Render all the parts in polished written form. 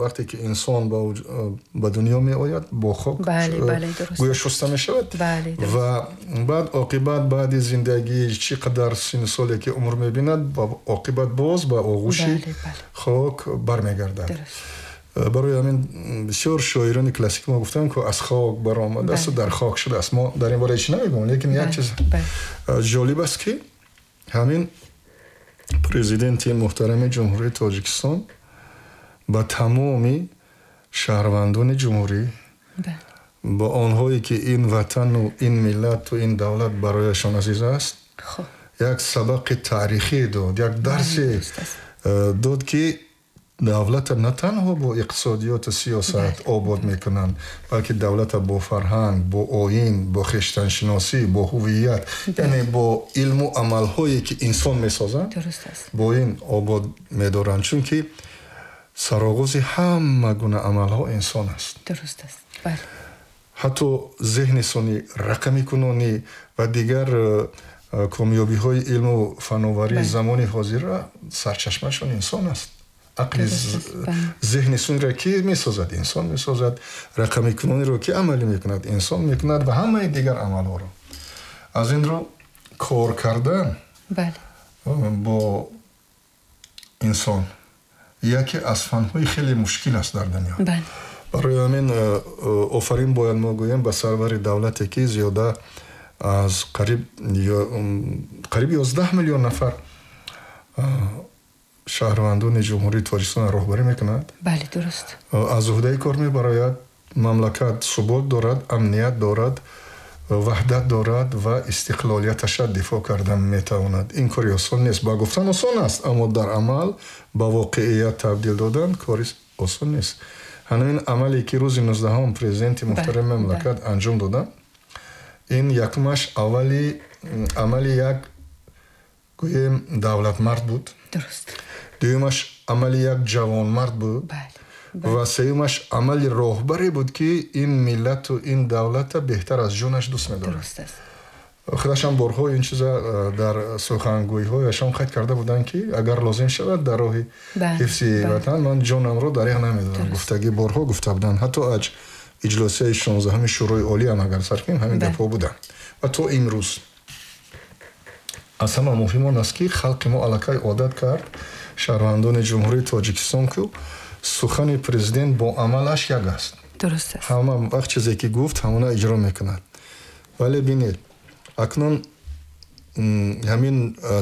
Вақте ки инсон ба дунё меояд, бо хок гӯё шуста мешавад ва баъд оқибат, баъди зиндагӣ, чӣ қадар синну соле ки умр мебинад, оқибат боз ба оғӯши хок бармегардад. Барои ҳамин бисёр шоирони классики мо гуфтанд, ки аз хок баромадааст, дар хок шудааст. Мо дар ин бора ҳеч намегӯем, лекин як чиз ҷолиб аст, ки ҳамин президенти муҳтарами Ҷумҳурии Тоҷикистон ба тамоми шаҳрвандони ҷумҳурӣ, ба онҳое ки ин ватану ин миллату ин давлат барояшон азиз аст, як сабақи таърихӣ дод, як дарсе дод, ки давлата на танҳо бо иқтисодиёту сиёсат обод мекунанд, балки давлата бо фарҳанг, бо оин, бо хештаншиносӣ, бо ҳувият, яъне бо илму амалҳое ки инсон месозад, бо ин обод медоранд, чунки сароғози ҳама гуна амалҳо инсон аст. Дуруст аст, бале. Ҳатто зеҳни сунъӣ, рақамикунонӣ ва дигар комёбиҳои илму фановарии замони ҳозира сарчашмашон инсон аст. Ақли зеҳни сунъиро ки месозад? Инсон месозад. Рақамикунониро ки амалӣ мекунад? Инсон мекунад. Ва ҳамаи дигар амалҳоро. Аз ин рӯ кор кардан бо инсон яке аз фанҳои хеле мушкил аст дар дунё. Барои ҳамин офарин бояд мо гӯем ба сарвари давлате, ки зиёда аз қариб 11 миллион нафар шаҳрвандони Ҷумҳурии Тоҷикистонро роҳбарӣ мекунад. Бале, дуруст. Аз уҳдаи кор мебарояд, мамлакат субот дорад, амният дорад, ваҳдат дорад ва истиқлолияташа дифоъ кардан метавонад. Ин кори осон нест. Ба гуфтан осон аст, аммо дар амал ба воқеият табдил додан кори осон нест. Ҳамин амале ки рӯзи 19-ум президенти муҳтарами мамлакат анҷом доданд, ин якумаш аввали амали як, гӯем, давлатмард буд, дуюмаш амали як ҷавонмард буд ва сеюмаш амали роҳбаре буд, ки ин миллату ин давлата беҳтар аз ҷонаш дӯст медорад. Худашам борҳо ин чиза дар сухангӯиҳояшон қайд карда буданд, ки агар лозим шавад, дар роҳи ҳифзи ватан ман ҷонамро дареғ намедорам, гуфтагӣ борҳо гуфта буданд. Ҳатто аз иҷлосияи 16-уми Шӯрои Олӣ ҳам агар сар кунем, ҳамин гапҳо буданд. Ва то имрӯз аз ҳама муҳим он аст, ки халқи мо аллакай одат кард, шаҳрвандони Ҷумҳурии Тоҷикистон, ки сухани президент бо амалаш як аст. Дуруст аст. Ҳама вақт чизе ки гуфт, ҳамона иҷро мекунад. Вале бинед, акнун ҳамин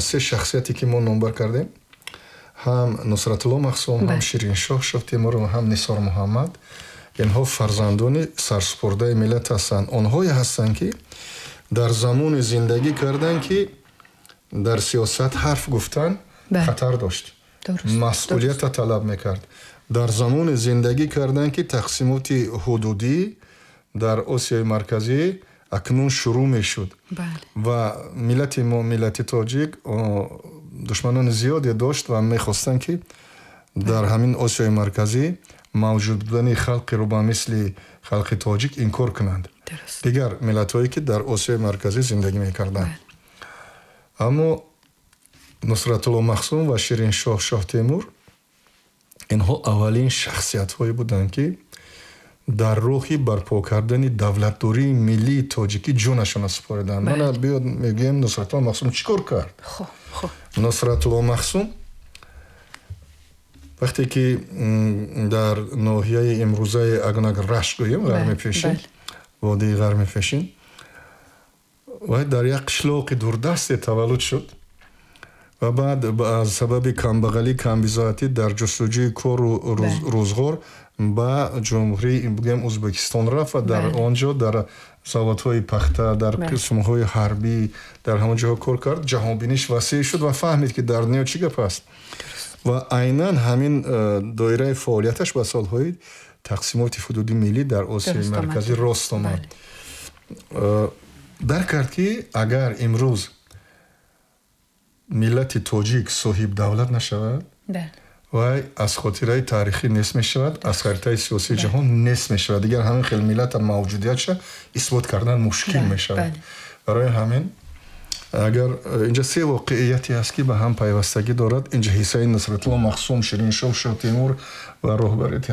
се шахсияте ки мо номбар кардем, ҳам Нусратулло Махсум, ҳам Шириншоҳ Шоҳтемур, ҳам Нисор Муҳаммад, инҳо фарзандони сарсупурдаи миллат ҳастанд. Онҳое ҳастанд, ки дар замоне зиндагӣ карданд, ки дар сиёсат ҳарф гуфтан хатар дошт, масъулията талаб мекард. Дар замоне зиндагӣ карданд, ки тақсимоти ҳудудӣ дар Осиёи Марказӣ акнун шурӯъ мешуд ва миллати мо, миллати тоҷик, душманони зиёде дошт ва мехостанд, ки дар ҳамин Осиёи Марказӣ мавҷуд будани халқеро ба мисли халқи тоҷик инкор кунанд, дигар миллатҳое ки дар Осиёи Марказӣ зиндагӣ мекарданд. Аммо Нусратулло Махсум ва Шириншоҳ Шоҳтемур, инҳо аввалин шахсиятҳое буданд, ки дар роҳи барпо кардани давлатдории миллии тоҷикӣ ҷонашонро супориданд. Мана биёд мегӯем, Нусратулло Махсум чӣ кор кард? Нусратулло Махсум вақте ки дар ноҳияи имрӯзаи Агнаг, Рашт гӯем, Ғарми Пешин, водии Ғарми Пешин, вай дар як қишлоқи дурдасте таваллуд шуд ва баъд аз сабаби камбағалӣ, камбизоатӣ дар ҷустуҷӯи кору рӯзғор ба ҷумҳурии, бигӯем, Ӯзбекистон рафт ва дар он ҷо дар заводҳои пахта, дар қисмҳои ҳарбӣ, дар ҳамон ҷоҳо кор кард. Ҷаҳонбиниш васеъ шуд ва фаҳмид, ки дар дунё чӣ гап аст, ва айнан ҳамин доираи фаъолияташ ба солҳои тақсимоти ҳудуди миллӣ дар Осиёи Марказӣ рост омад. Дарк кард, ки агар имрӯз миллати тоҷик соҳиб давлат нашавад, вай аз хотираи таърихӣ нест мешавад, аз харитаи сиёсии ҷаҳон нест мешавад. Дигар ҳамин хел миллата мавҷудиятша исбот кардан мушкил мешавад. Барои ҳамин агар инҷа се воқеияте ҳаст, ки ба ҳам пайвастагӣ дорад, инҷа ҳиссаи Нусратулло Махсум, Шириншоҳ Шоҳтемур ва роҳбарияти